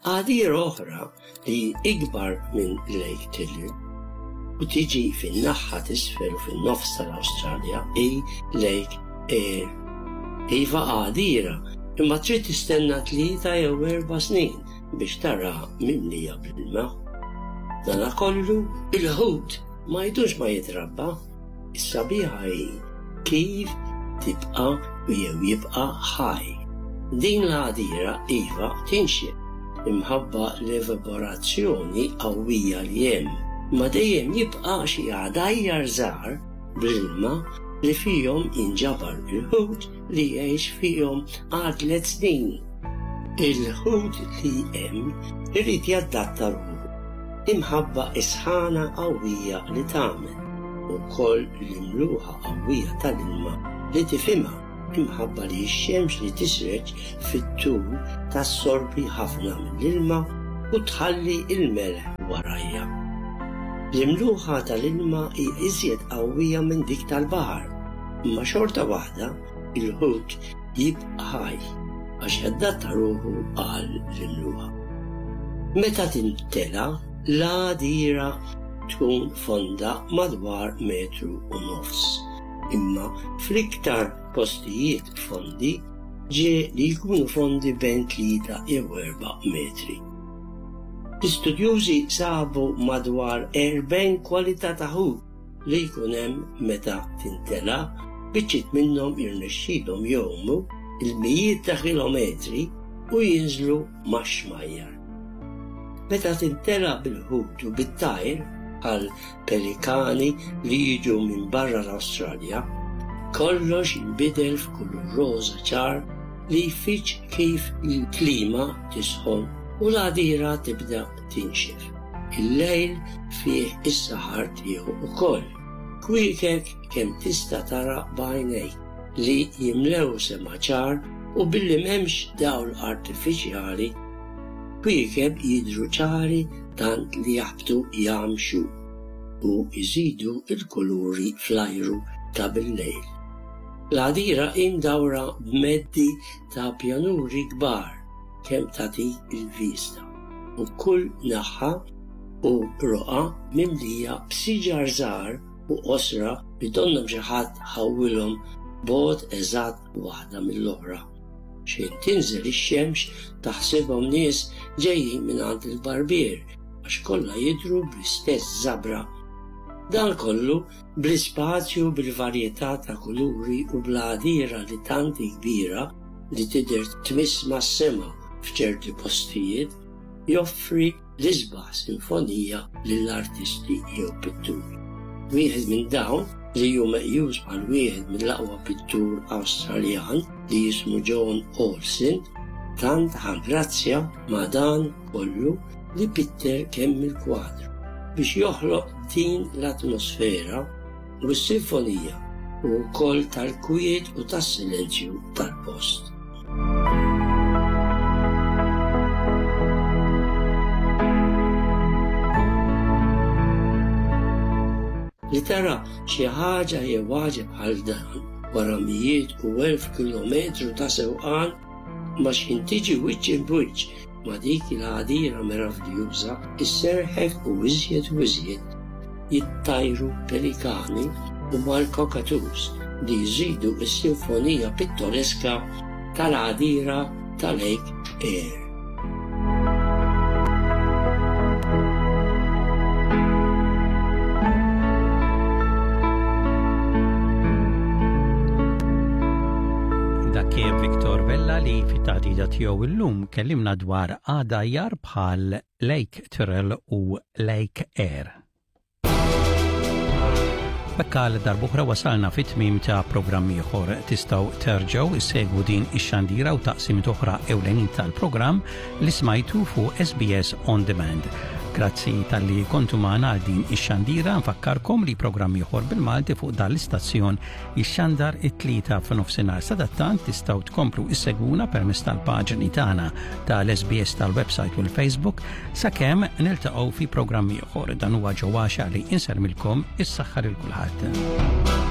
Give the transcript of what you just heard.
Għadira oħra li hi ikbar minn Lake Tiller u tiġi fin-naħa t'isfel u fin-nofs tal-Awstralja hi Lake Eyre. Iva għadira, imma trid tistenna tlieta jew erba' snin biex taraha mimlija bl-ilma. Danakollu, il-ħut ma jdux ma jitrabba. Is-sabiħa hi kif tibqa' jew jibqa' ħaj. Din l-għadira iva tinxef imħabba l-evaporazzjoni qawwija li hemm, imma dejjem jibqa' xi għadajjar żgħar bl-ilma li fihom jinġabar il-ħut li jgħix fihom għal tliet snin. Il-ħut li hemm irid jadatta ruħu imħabba s-sħana qawwija li tagħmel, u wkoll l-imluħa qawwija tal-ilma li tifhimha imħabba li x-xemx li tisreġ fit-tul tassorbi ħafna mill-ilma u tħalli l-melħ warajha. L-imluħa tal-ilma hi iżjed qawwija minn dik tal-baħar, imma xorta waħda il-ħut jibqa' ħaj għax jadatta ruħu għal l-imluħa. Meta timtela, l-għadira tkun fonda madwar metru u nofs, imma fl-iktar postijiet fondi ġie li jkunu fondi bejn tlieta jew erba' metri. L-istudjużi sabu madwar 40 kwalità ta' ħut li jkun hemm meta timtela, biċċiet minnhom jirnexxilhom jgħumu il-mijiet ta' kilometri u jinżlu max-xmajjar. Meta timtela bil-ħut u bit-tajr, bħal pelikani li jiġu minn barra l-Awstralja, kollox jinbidel f'kulur roża ċar li jfiġġ kif il-klima tisħon u l-għadira tibda tinxef. Il-lejl fih is-saħar tiegħu wkoll. Kwiekeb kemm tista' tara b'għajnejk li jimlew sema ċar u billi m'hemmx dawl artifiċjali, kwiekeb jidhru ċari tant li jaħbtu jgħammxu u jżidu l-kuluri fl-ajru ta' bil-lejl. L-għadira hi mdawra b'meddi ta' pjanuri kbar kemm tagħtik il-vista u kull naħa u roqgħa mimlija b'siġar żgħar u qosra li donnhom xi ħadd ħawwilhom bogħod eżatt waħda mill-oħra. Xejn tinżel ix-xemx taħsibhom nies ġejjin mingħand il-barbier għax kollha jidhru bl-istess żabra. Dan kollu bl-ispazju bil-varjetà ta' kuluri u bl-għadira li tant hi kbira li tidher tmiss mas-sema f'ċerti postijiet joffri l-isbaħ sinfonija lill-artisti jew pitturi. Wieħed minn dawn, li hu meqjus bħal wieħed mill-aqwa pittur Awstraljan li jismu John Olsen, tant ħa grazzja ma' dan kollu li pitter kemm il-kwadru biex joħloq din l-atmosfera u s-sinfonija u wkoll tal-kwiet u tas-silenzju tal-post. Li tara xi ħaġa jew għaġeb bħal dan wara mijiet u elf kilometru ta' sewqan ma x'ħin tiġi wiċċ imb'wiċċ ma' dik il-għadira meraviljuża isserrħek u iżjed u iżjed jittajru pelikani u mal-cockatoos li jżidu s-sinfonija pittoreska tal-għadira ta' Lake Eyre. Dak kien Victor Vella li fit-taħdida tiegħu illum kellimna dwar għadajjar bħal Lake Tyrrell u Lake Eyre. B'hekk għal darb'oħra wasalna fit-tmiem ta' programm ieħor. Tistgħu terġgħu issegwu din ix-xandira u taqsimiet oħra ewlenin tal-programm li smajtu fuq SBS On Demand. Grazzi talli kontu magħna għal din ix-xandira, nfakkarkom li programm ieħor bil-Malti fuq dan l-istazzjon jixxandar it-tlieta f'nofsinhar. Sadattant tistgħu tkomplu issegwuna permezz tal-paġni tagħna tal-SBS tal-website u l-Facebook sakemm niltaqgħu fi programm ieħor. Dan huwa ġewwaxa li insermilkom is-saħħa lil kulħadd.